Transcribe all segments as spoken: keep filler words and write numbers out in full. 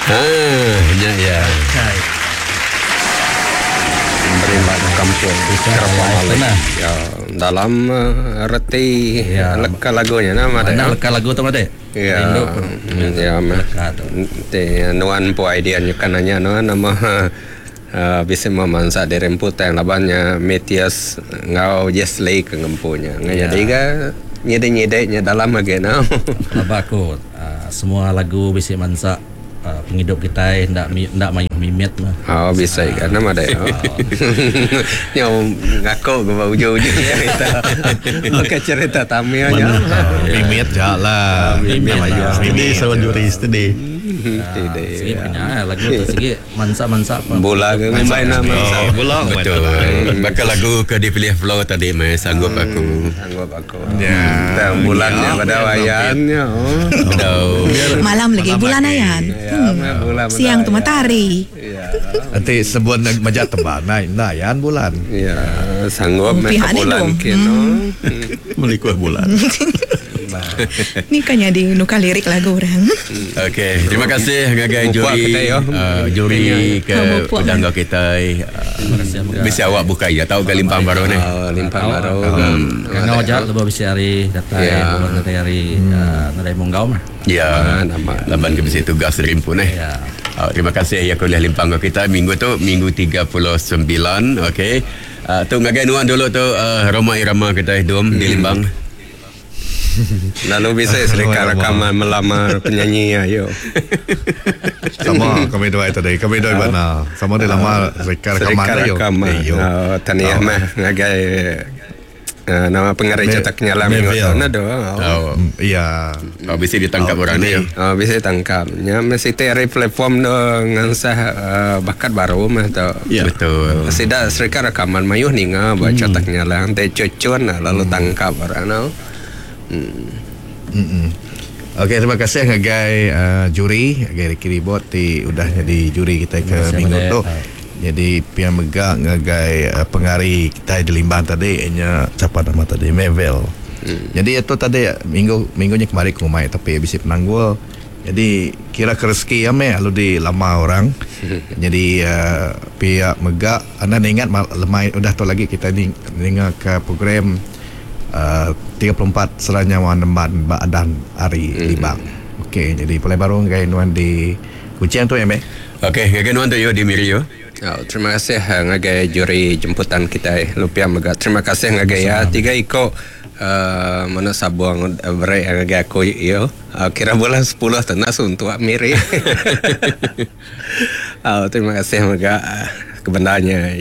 Ah, nya ya. Kai. Berimba kampung Nah. Ya, dalam uh, reti Ya. leka lagunya nama Mana ada. leka lagu tu mate? Ya. Rindu. Ya, mah. Leka tu. Te nuan po idea nya kan nanya nuan nama uh, bisa memansa diri empu tang labannya Matthias ngau Jessley ke ngempunya. Ngan Ya. jadi ga nyede-nyede nya dalam lagi no. Laba aku uh, semua lagu bisi mansa uh, penghidup kita ndak ndak mayuh mimit mah. Oh bisa kan nama ada. Oh. Nyo ngaku ke ujung-ujung cerita. Okey cerita Tamil nya. Mimit je lah. Mimit lah. Steady sama juri steady. Tidak. Segi punya lagu tu segi mansa-mansa apa. Bola ke main nama. Oh, bola Betul. Bakal lagu ke dipilih Flo tadi mai sanggup aku. Sanggup aku. Ya. Tang bulannya pada wayannya. Oh. Betul. Malam lagi bulan ayan. Ya, bulan Siang tu matahari. Ya. Nanti sebuah majak tebal naik nayan bulan. Ya, sanggup Oh, mereka pihak ni bulan dong. kino. Melikuh bulan. Ni kan jadi nukar lirik lagu orang. Okey, terima kasih ngagai Mupuak juri kita, yo. uh, juri ke Oh, mupuak. udang kau kita. Uh, bisa awak buka ya tahu ke limpang baru ni. Oh, limpang baru. Kangau aja lebih bisi hari datai Ya. bulan datai hari nadai munggau mah. Ya, nama. laban ke bisi tugas dari pun eh. Ya. Uh, terima kasih ya kuliah limpang kau kita minggu tu minggu tiga puluh sembilan okey. Uh, tu ngagai nuan dulu tu uh, Roma Irama kita dum di Limbang. Lalu bisa serikat rekaman melamar penyanyi ayo. Sama kami dua tadi. Kami dua mana? Sama dia lama serikat rekaman Serikat ayo. rekaman. Ayo. Oh, tahniah mah ngagai eh, nama pengarah Me- cetak nyalam minggu Meville. tu nado. Oh, Hmm, Iya. oh bisa ditangkap orang ni. Oh, bisa tangkap. Ya, mesti dari platform tu ngansah eh, bakat baru mah tu. Ya. Betul. Sida serikat rekaman mayuh ninga buat cetak nyalang te cucun lalu tangkap orang no. Mm-mm. Okey, terima kasih ngagai uh, juri, ngagai Ricky Ribot ti udah jadi juri kita ke Terima kasih, minggu Abang tu. Dek. Jadi pian megak ngagai uh, pengari kita di Limbang tadi nya siapa nama tadi Mevel. Hmm. Jadi itu tadi minggu minggunya kemarin ku mai tapi bisi penanggul. Jadi kira ke rezeki ya meh lalu di lama orang. Jadi uh, pihak megak anda ingat mal- lemai udah tu lagi kita ni dengar ke program uh, tiga puluh empat seranya Nemban Baadan Ari mm. Libang. Okey, jadi mulai baru ngai nuan di Kuching tu ya meh. Okey, ngagai nuan tu yo di Miri yo. Oh, terima kasih eh, ngagai juri jemputan kita eh. Lupia mega. Terima kasih ngagai ya tiga iko uh, mana sabuang uh, beri ngagai aku yo. Uh, kira bulan sepuluh tenas untuk Miri. Oh, terima kasih mega eh, kebenarnya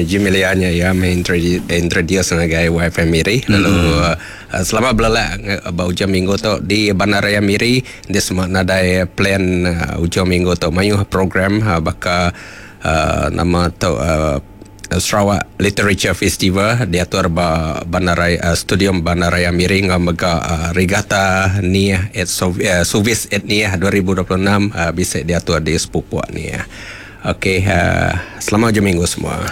Jimilianya ya mengintroduce introduce ngagai Y F M Miri. Lalu uh, selamat belala ba ujung minggu tu di Bandaraya Miri di semua nadai plan uh, ujung minggu tu mayuh program uh, baka uh, nama tu uh, Sarawak Literature Festival diatur ba Bandaraya uh, Studium Bandaraya Miri ngau mega uh, Regata Niah et Sov, uh, Suvis et Niah dua ribu dua puluh enam uh, bisa diatur di Sepupuk ni ya. Okey, uh, selamat hujung minggu semua.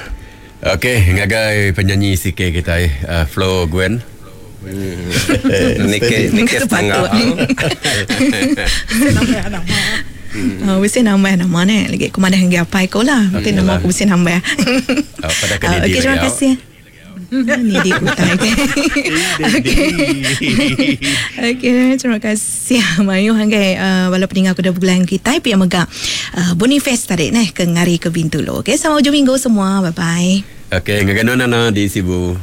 Okey, ngagai penyanyi C K kita eh, uh, Flo Gwen. Nike Nike setengah. Oh, mesti nambah nama ni. Lagi aku madah hingga apa aku lah. Mesti nama aku mesti nambah. Oh, pada ke Ah, Didi Okey, terima lagi, kasih. Ni di kutai. Okey. Okey, terima kasih Mayu hanggai uh, bala pendengar kuda bulan kita pia mega uh, Boniface tadi neh ke ngari ke Bintulu. Okey, selamat hujung minggu semua. Bye bye. Okey, ngagai nuan Nana di Sibu.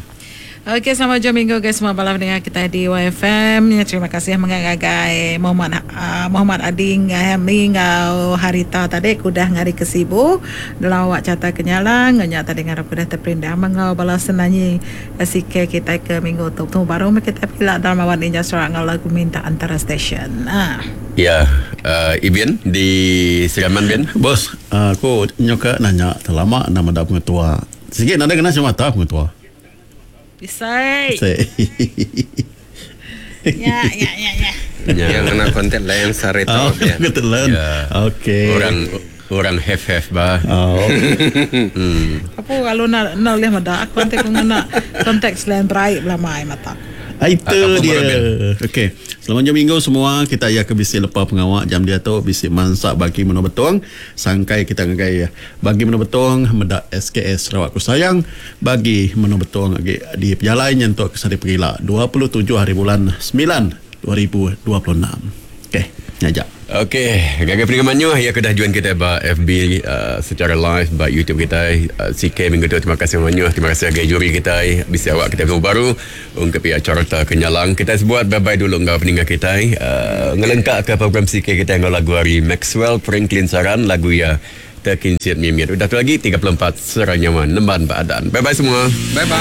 Okey, selamat hujung minggu guys semua malam dengan kita di Y F M. Ya, terima kasih mengagai Muhammad uh, Muhammad Adi Ngami ngau Harita tadi kudah ngari ke Sibu dalam awak cata kenyalang ngenya tadi ngarap kudah terperindang mengau bala senanyi S K kita ke minggu tu. Tu baru kita pilak dalam awak ninja suara ngau lagu minta antara stesen. Ah. Ya, uh, Ibin di Seraman bin. Bos, aku nyoka nanya terlama nama dak pengetua. Sikit nak kena cuma tak pengetua. Bisai. Ya, ya, ya, ya. Yang kena kontak lain sehari tu. Oh, ya. kebetulan. Ya. Okey. Orang orang have have bah. Oh. Apa kalau nak nak boleh mada aku nanti aku nak konteks lain beraik belah mai mata. Ah, itu Ah, dia. Robin. Okey. Selamat jam minggu semua. Kita ya ke bisi lepa pengawak jam dia tu bisi mansak bagi menu betong. Sangkai kita ngagai bagi menu betong medak S K S Sarawak ku sayang bagi menu betong agi di pejalai nyentuk ke Sari Perila dua puluh tujuh hari bulan sembilan dua ribu dua puluh enam. Okey, ngajak. Okey, gagal pendengar manyu ya kedah join kita ba F B uh, secara live ba YouTube kita uh, C K minggu tu. Terima kasih manyu, terima kasih agai juri kita bisa awak kita baru untuk pihak carta kenyalang. Kita sebuat bye-bye dulu ngau pendengar kita uh, ngelengkap ke program C K kita ngau lagu hari Maxwell Franklin Saran lagu ya Terkincit Mimir. Udah tu lagi tiga puluh empat seranyawan nemban badan. Bye-bye semua. Bye-bye.